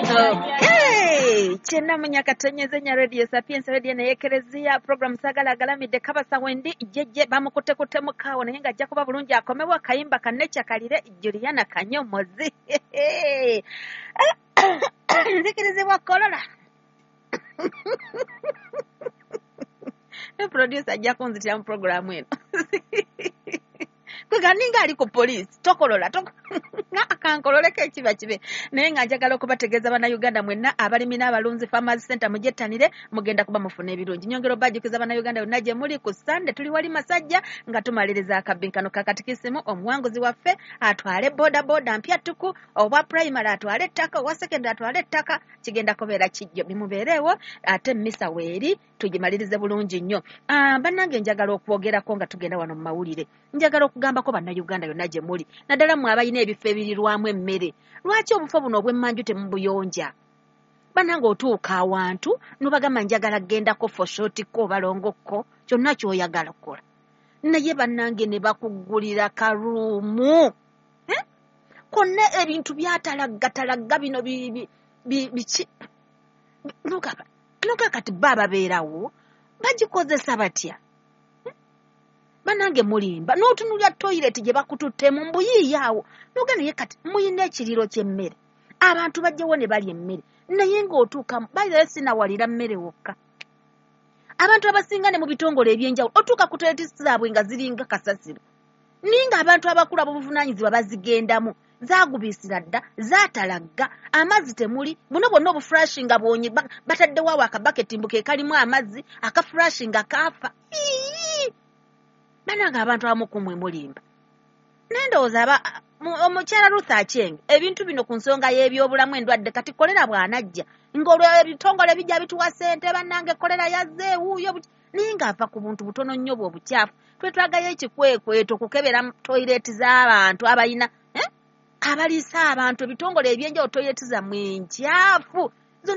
Okay, kyenamunya katonyeze nya Radio Sapiens, radio naye Ekereziya, program Sagala Agalamidde. Kabasa wendi jejje bamukutekute mukaawo, naye ng'ajja kuba bulungi akomewo. Akayimba kannecha kalire Juliana Kanyomozi. Nzikirizibwa kolola. Producer ajja kunzitira mu programu eno. Kwega ninga ali ku poliisi, tokolola akankololeko ekiba kibe. Naye nga njagala okubategeeza Bannayuganda mwenna abalimi n'abalunzi, Farmers Center mugyettanire, mugenda kuba mufuna ebirungi. Nyongera obajjukiza Bannayuganda yonna gye muli, ku Sande tuli wali Masajja nga tumaliriza akabbinkano ka katikisimu. Omuwanguzi waffe atwale boda boda mpya ttuku, obwa primary atwale ettaka, obwa secondary atwale ettaka. Kigenda kubeera kijjo, bimubeereewo, ate mmisa weeri tugimalirize bulungi nnyo. Bannange njagala okwogerako nga tugenda wano mu mawulire. Njagala okugambako Bannayuganda yonna gye muli, naddala mmwe abalina ebifo ebirirwamu emmere. Lwaki obufo buno obw'emmanju temubuyonja? Bannange otuuka awantu n'obagamba njagala kgendako foshotiko oba longokko, kyonna ky'oyagala okukola. Naye bannange ne bakuggulira karuumu. Konna ebintu byatalaggatalagga bino biki? Nuga kati bo ababeerawo bagikozesa batya? Bannange mulimba. N'otunulya toyireti gye bakututtemu mbuyiiya awo. Nuga naye kati muyina ekiriro ky'emmere. Abantu bajjawo ne balya emmere. Naye ng'otuuka bayirayo sinawalira mmere wokka. Abantu abasinga ne mu bitongole ebyenjawulo otuuka ku toyireti zaabwe nga ziringa kasasiro. Ninga abantu abakulu ab'obuvunaanyizibwa bazigendamu. Zaagubisira dda, zaatalagga, amazzi temuli, buno bwonna obufurashinga bwonye bataddewo awo akabaketi mbu ke kalimu amazzi, akafurashinga kaafa. Bannange abantu abamu ku mmwe mulimba. Naye ndowooza omukyala Ruth Acheng, ebintu bino ku nsonga y'ebyobulamu endwadde kati kolera bw'anajja, ng'olwo ebitongole bijja bituwa ssente, bannange kolera yazze ewuuyo, naye ng'ava ku buntu butono nnyo bwe obukyafu. Twetwagayo ekikwekweto okukebera toyireti z'abantu abalina, abaliisa abantu ebitongole ebyenjawulo, toyireti zammwe enkyafu.